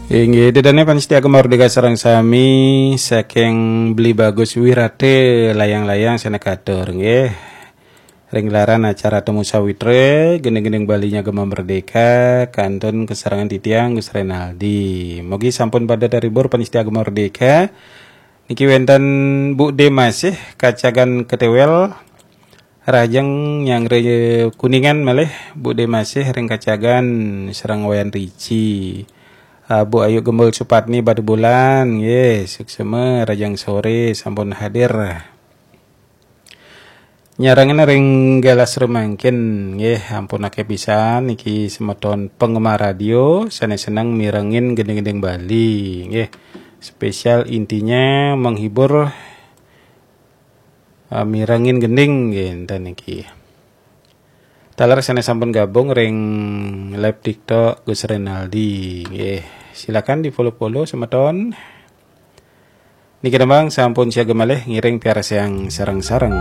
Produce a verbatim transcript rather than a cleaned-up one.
Inggih, ida dané pamiarsa Gema Merdeka sareng sami saking Beli Bagus Wirate Layang-Layang sané katur, nggih. Ring gelaran acara Temu Sawitra, gending-gending Baliné Gema Merdeka, kantun kasarengan titiang Gus Renaldi. Mugi sampun pada terhibur pamiarsa Gema Merdeka. Niki wénten Bu Démasih kacagan Ketéwél, rahajeng nyanggra Kuningan malih, Bu Démasih ring kacagan sareng Wayan Rici. Ah, Bu Ayu Gembul Supatni Batubulan, nggih, suksma rahajeng soré sampun hadir. Nyarengin ring galah samangkin, nggih, ampun akéh pisan niki semeton penggemar radio sané seneng mirengin gending-gending Bali, nggih. Spesial intinya menghibur, ah, mirengin gending, nggih, énten niki. Taler sané sampun gabung ring live TikTok Gus Renaldi, nggih. Silakan di-follow-follow semeton. Niki tembang sampun siaga malih ngiring piarsayang sareng-sareng.